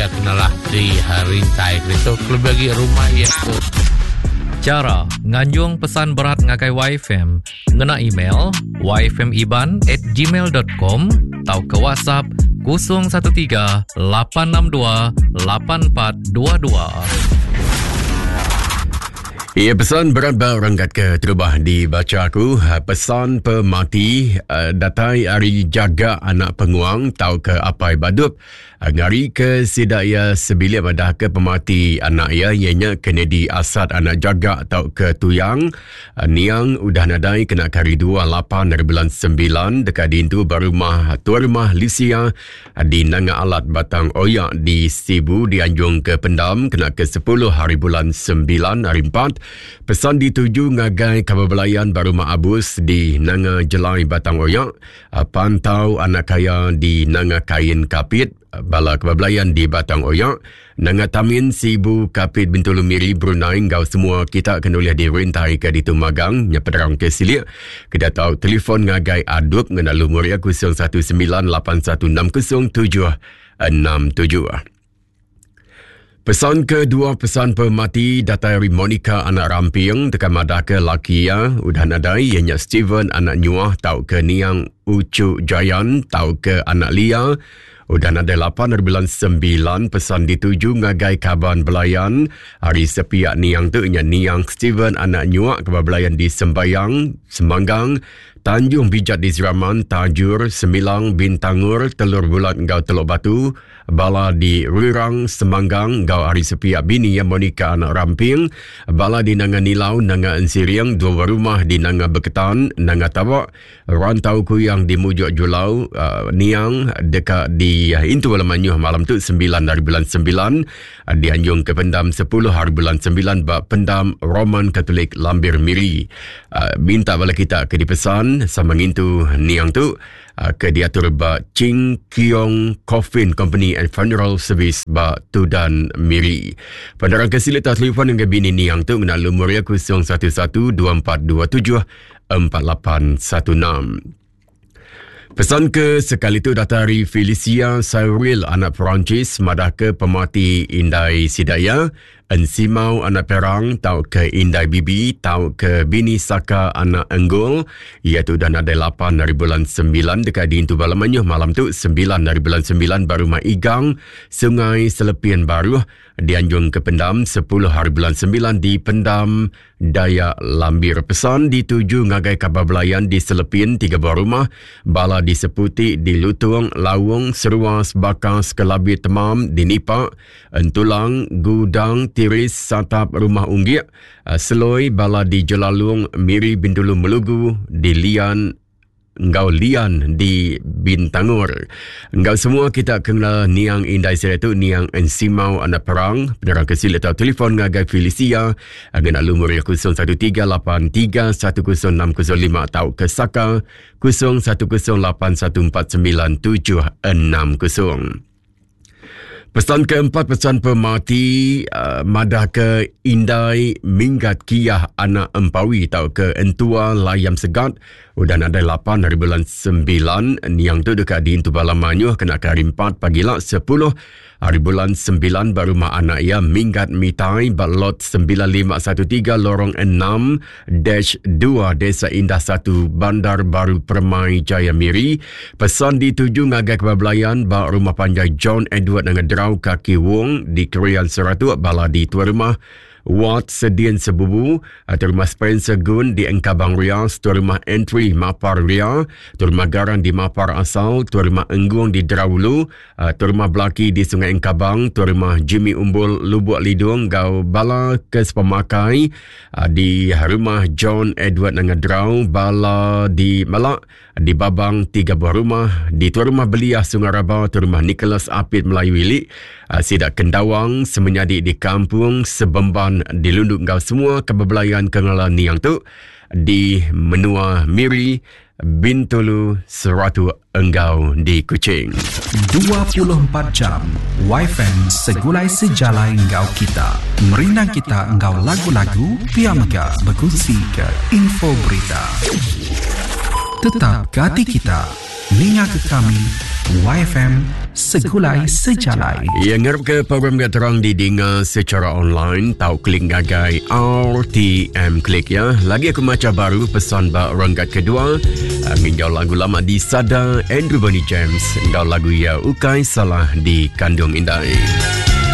iya kena lah di rintai ke ditu kelebih agi rumah iya tu. Chara nganjung pesan berat ngagai YFM ngena email yfmiban at gmail.com tauka WhatsApp 013 862 8422. Ia pesan berat ba renggat ke terubah dibacha aku. Pesan pemati eh, datai ari jaga anak penguang tauka apai badup ngari ke sida iya sebilik madah ke pemati anak iya iya nya Kennedy Asat anak jaga tauka tuyang Niang udah nadai kena ke hari 2 8 hari bulan 9 deka diintu ba rumah tuai rumah Lucia Di Nanga Alat Batang Oya di Sibu dianjung ke pendam kena ke 10 hari bulan 9 hari 4. Pesan dituju ngagai kaban belayan ba Rumah Abus di Nanga Jelai Batang Oya, Pantau Anak Kaya di Nanga Kain Kapit, bala kaban belayan di Batang Oya, Nanga Tamin, Sibu, Kapit, Bintulu, Miri, Brunei enggau semua kita ke nulih di rintai ke ditu magang nya penerang ke silik keda tau telefon ngagai Adup ngena lumur iya 0198160767. Pesan kedua pesan pemati datai ari Monica anak Ramping deka madahka laki iya udah nadai iya nya Steven anak Nyuah tauka niang Uchu Jayan tauka anak Lia Udah nadai lapan ari bulan sembilan pesan dituju ngagai kaban belayan ari sepiak niang tu nya niang Steven anak Nyuak kaban belayan di Sembayang, Semanggang, Tanjung Bijat di Seraman, Tajur, Semilang, Bintangor, Telur Bulat enggau Teluk Batu, bala di Rirang, Semanggang enggau ari sepiak bini iya Monica anak Ramping, bala di Nanga Nilau, Nanga Ensiring, dua buah rumah di Nanga Beketan, Nanga Tabak, Rantau Kuyang di Mujuk Julau uh, Niang deka di uh, intu bala mayuh malam tu 9 hari bulan 9 uh, dianjung ke pendam 10 hari bulan 9 ba pendam Roman Katolik Lambir Miri. Uh, minta bala kita ke dipesan sama ngintu Niang tu uh, ke diatur ba Ching Kiong Coffin Company and Funeral Service ba Tudan Miri. Penerang ke silik telefon dengan bini Niang tu ngena lumur iya 011 2427 4816. Pesan ke sekali tu datai ari Felicia Cyril anak Perancis madah ke pemati indai sida iya Ensimau anak Perang tauka indai Bibi tauka bini Saka anak Enggul iya tu udah nadai 8 hari bulan 9 deka diintu bala mayuh malam tu 9 hari bulan 9 ba rumah Igang Sungai Selepin Baruh dianjung ke pendam 10 hari bulan 9 di pendam Dayak Lambir. Pesan dituju ngagai kaban belayan di Selepin, tiga buah rumah, bala di Seputi, di Lutung, Laung, Seruas, Bakas, Kelabit Temam, di Nipa, Entulang, Gudang, Tiris, Satap, Rumah Unggik, Seloi, bala di Jelalung, Miri, Bintulu, Melugu, di Lian, enggau Lian di Bintangor. Enggau semua kita ke ngela niang indai sida tu niang Ensimau anak Perang, penerang ke silik tau telefon ngagai Felicia ngena lumur iya 0138310605 tau ke Saka 0108149760. Pesan keempat pesan pemati uh, madah ke indai minggat kiah anak empawi tau ke entua layam segat udah nadai 8 hari bulan 9 niang tu deka diintu bala mayuh kena ke hari 4 pagi la 10 hari bulan 9 ba rumah anak iya Minggat Mitai ba lot 9513 lorong 6 Dash 2 Desa Indah 1 Bandar Baru Permai Jaya Miri. Pesan dituju ngagai kebal belayan ba rumah panjai John Edward Nanga Drau Kaki Wong di Krian Seratuk bala di tuai rumah Wat Sedian Sebubu atau rumah Spencer Gun di Engkabang Ria, tuai rumah Entry Mapar Ria, tuai rumah Garang di Mapar Asal, tuai rumah Enggung di Draulu, Uh, Tuan Rumah Belaki di Sungai Engkabang, Tuan Rumah Jimmy Umbul Lubuk Lidung gau bala ke sepemakai uh, di Rumah John Edward Nangadrau, bala di Malak, di Babang tiga buah rumah, di Tuan Rumah Beliah Sungai Raba, Tuan Rumah Nicholas Apit Melayu Ili, uh, Sidak Kendawang, semenyadi di Kampung Sebemban di Lunduk gau semua kebebelayan kengelan niang tu di menua Miri, Bintulu, Seratuk enggau di Kuching. 24 jam Wifi segulai sejalai enggau kita. Merindang kita enggau lagu-lagu pia mega bekunsi ke info berita. Tetap ke ati kita. Ninga ke kami. YFM Segulai Sejalai. Ya ngarap ke program ke terang didinga secara online tau klik ngagai RTM klik ya. Lagi aku maca baru pesan ba renggat kedua eh, nginjau lagu lama di Sada Andrew Bernie James enggau lagu ya Ukai Salah di Kandung Indai.